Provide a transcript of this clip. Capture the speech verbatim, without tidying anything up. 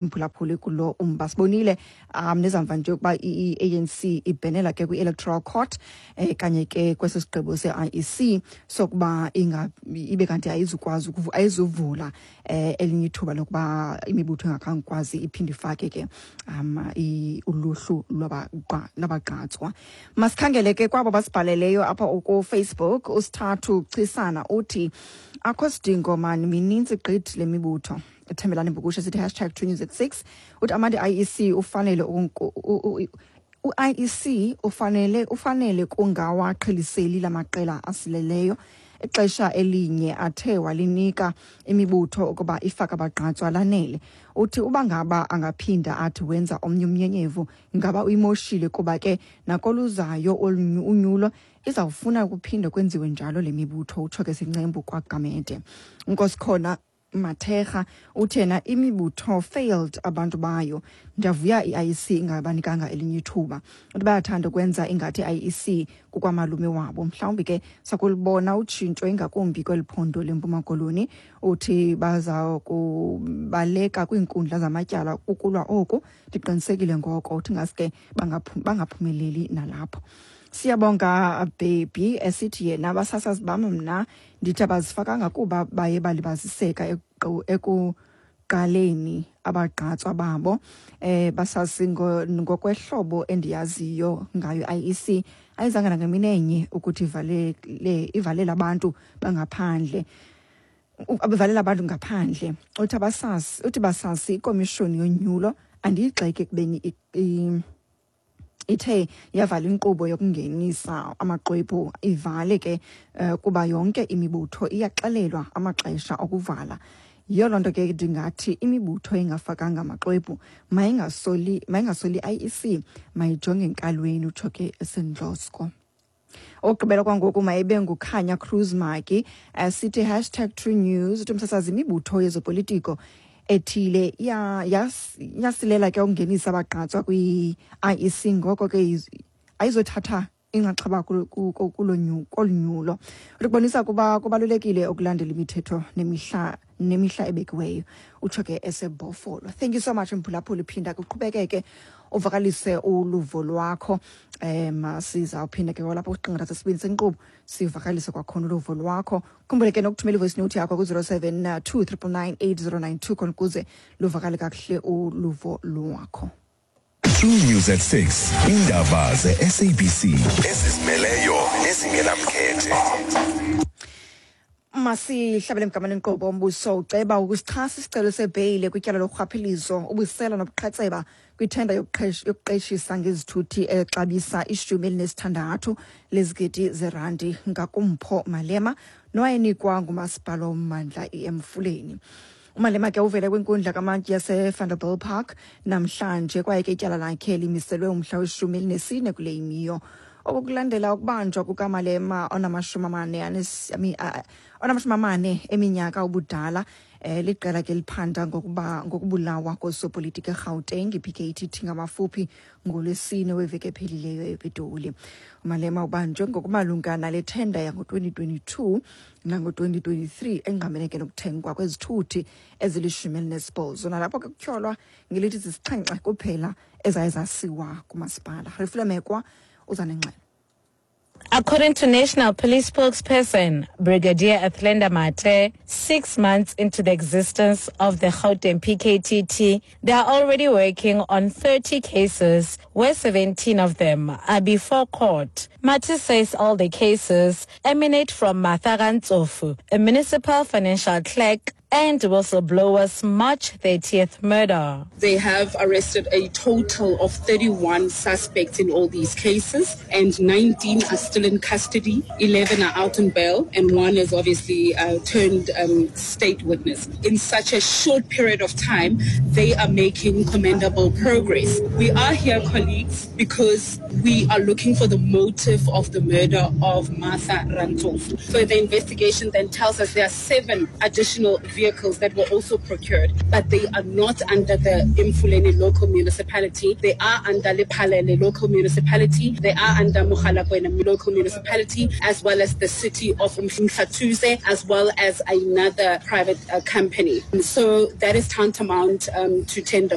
Mphulaphuli, kulo umba sibonile um nezamva nje ukuba i-A N C ibhenela ke kwi-Electoral Court eh kanye ke kwesi sigqibo se-I E C sokuba inga ibe kanti ayizukwazi ayizuvula eh elinye ithuba lokuba imibutho engakhange kwazi iphinde ifake ke um uluhlu lwabagqatswa. Masikhangele ke kwabo basibhaleleyo apha kuFacebook. Usithathu Chisana uthi akho sidingo mani, minintsi gqithi le mibutho. Thembelani Mbukushe sithi hashtag True News at six, uthi amandi I E C ufanele u-I E C ufanele ufanele kungawaqheliseli lamaqela asileleyo. Ixesha elinye athe walinika imibutho ukuba ifake abagqatswa lanele. Uthi uba ngaba angaphinda athi wenza omnye umnyenyevu, ngaba uyimoshile, kuba ke nakoluzayo unyulo izawufuna ukuphinde kwenziwe njalo le mibutho. Utsho ke sincembu kwaGamede. Nkosikhona Mathega uthena imibutho failed abantu bayo, ndiyavuya i-I E C ingabanikanga elinye ithuba. Uthi bayathanda ukwenza ingathi i-I E C kukwamalume wabo, mhlawumbi ke sakulibona utshintsho ingakumbi kweli phondo leMpuma Koloni. Uthi baza kubaleka kwiinkundla zamatyala ukulwa oku, ndiqinisekile ngoko. Uthi ngaske bangaphumeleli nalapho. Siyabonga Baby esithi yena abasasazi bam, mna ndithi abazifakanga kuba baye balibaziseka ekuqaleni abagqatswa babo. eh basazi ngokwehlobo endiyaziyo ngayo I E C ayizange nangemini enye ukuthi ivalele ivalele abantu bangaphandle, abevalela abantu ngaphandle. Uthi abasazi, uthi basazi ikomishoni yonyulo andiyigxeki ekubeni ithe yavala inkqubo yokungenisa amaxwebhu, ivale ke uh, kuba yonke imibutho iyaxelelwa amaxesha okuvala. Yiyo loo nto ke ndingathi imibutho engafakanga amaxwebhu mayingasoli mayingasoli I E C, mayijonge enkalweni. Utsho ke esendlosko. Okugqibela kwangoku mayibe nguKhanya Cruz Maki sithi hashtag True News, uthi umsasazi, imibutho yezopolitiko ethile yasilela ke ukungenisa abagqatswa kwi-I E C, ngoko ke ayizothatha inxaxheba kolu nyulo. Ukubonisa kuba kubalulekile ukulandela imithetho nemihla nemihla ebekiweyo. Utsho ke eseBhofolo. Thank you so much, mphulaphuli. Phinda kuqhubekeke uvakalise uluvo lwakho. um sizawuphinda ke kwalapha kwisiqingatha sesibini senkqubo sivakalise kwakhona uluvo lwakho. Khumbule ke nokuthumela ivoice note yakho ku-zero seven two triple nine eight zero nine two khona ukuze luvakale kakuhle uluvo lwakho. True News at six. Indaba ze-S A B C ezizimeleyo nezingenamkhethe. Masihlabele mgama lenkqubo. Umbuso uceba ukusichasa isicelo sebheyile kwityala lorhwaphilizo, ubusela nobuqhetseba kwithenda yokuqeshisa ngezithuthi exabisa ishumi elinesithandathu lezigidi zerandi ngakuMpho Malema nowayenikwa ngumasipala wommandla iEmfuleni. UMalema ke uvele kwinkundla kamantyi yaseVanderbijlpark namhlanje, kwaye ke ityala lakhe limiselwe umhla weshumi elinesine kule imiyo. Oku kulandela ukubanjwa kukaMalema onamashumi amane onamashumi amane eminyaka ubudala eh liqela ke liphanda ngokuba ngokubulawa kosopolitiki eGauteng, i-P K T T ngamafuphi, ngoLwesine weveki ephelileyo ePitoli. UMalema ubanjwe ngokumalunga nale thenda yango-twenty twenty-two nango-twenty twenty-three engqamene ke nokuthengwa kwezithuthi ezilishumi elinesibhozo, nalapho ke kutyholwa ngelithi zisixhenxe kuphela ezaye zasiwa kumasipala. Refile Mekwa uza nengxelo. According to National Police spokesperson Brigadier Athlenda Mathe, six months into the existence of the Gauteng P K T T, they are already working on thirty cases, where seventeen of them are before court. Mathe says all the cases emanate from Martha Rantsofu, a municipal financial clerk, and whistleblower's March thirtieth murder. They have arrested a total of thirty-one suspects in all these cases, and nineteen are still in custody, eleven are out on bail, and one is obviously uh, turned um, state witness. In such a short period of time, they are making commendable progress. We are here, colleagues, because we are looking for the motive of the murder of Martha Rantsofu. Further investigation then tells us there are seven additional vehicles vehicles that were also procured, but they are not under the Emfuleni local municipality. They are under Lephalale local municipality. They are under Mogalakwena local municipality, as well as the city of Umhlathuze, as well as another private uh, company. So that is tantamount um, to tender